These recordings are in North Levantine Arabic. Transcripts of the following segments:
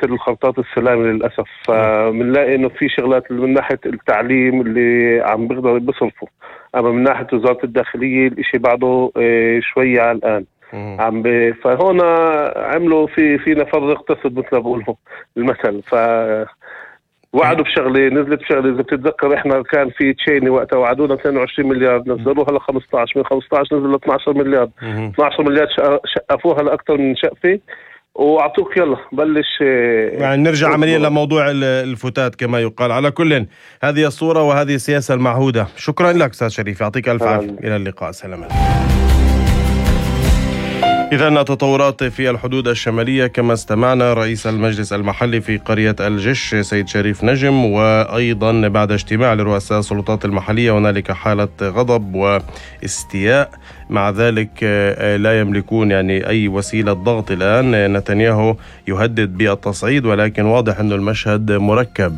الخلطات السلامة للأسف. فبنلاقي إنه في شغلات من ناحية التعليم اللي عم بيقدروا بيصرفوا، أما من ناحية وزارة الداخلية الإشي بعده شوية على الآن. فهون عملوا في نفر اقتصد مثل ما بقولوا المثل. وعدوا بشغله نزلت بشغله. اذا بتتذكر احنا كان في تشيني وقتها وعدونا 22 مليار، نزلوها ل 15، من 15 نزل ل 12 مليار. 12 مليار شقفوها لاكثر من شقفه واعطوك يلا بلش. يعني نرجع عمليا لموضوع الفتات كما يقال. على كل هذه الصورة وهذه السياسة المعهودة. شكرا لك أستاذ شريف، يعطيك ألف عافية. إلى اللقاء، سلام. إذن التطورات في الحدود الشمالية كما استمعنا رئيس المجلس المحلي في قرية الجش سيد شريف نجم، وأيضا بعد اجتماع لرؤساء السلطات المحلية هنالك حالة غضب واستياء. مع ذلك لا يملكون يعني أي وسيلة ضغط الآن. نتنياهو يهدد بالتصعيد، ولكن واضح أن المشهد مركب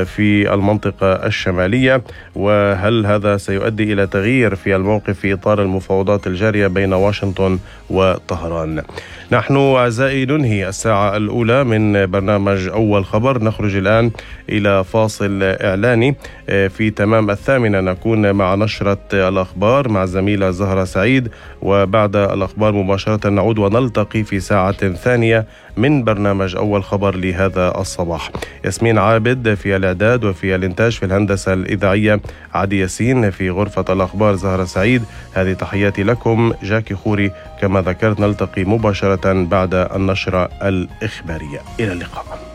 في المنطقة الشمالية. وهل هذا سيؤدي إلى تغيير في الموقف في إطار المفاوضات الجارية بين واشنطن وطهران؟ نحن أعزائي ننهي الساعة الأولى من برنامج أول خبر. نخرج الآن إلى فاصل إعلاني. في تمام 8 نكون مع نشرة الأخبار مع زميلة زهرة سعيد، وبعد الأخبار مباشرة نعود ونلتقي في ساعة ثانية من برنامج أول خبر لهذا الصباح. ياسمين عابد في الإعداد وفي الإنتاج، في الهندسة الإذاعية عدي ياسين، في غرفة الأخبار زهرة سعيد. هذه تحياتي لكم، جاكي خوري. كما ذكرت نلتقي مباشرة بعد النشرة الإخبارية. إلى اللقاء.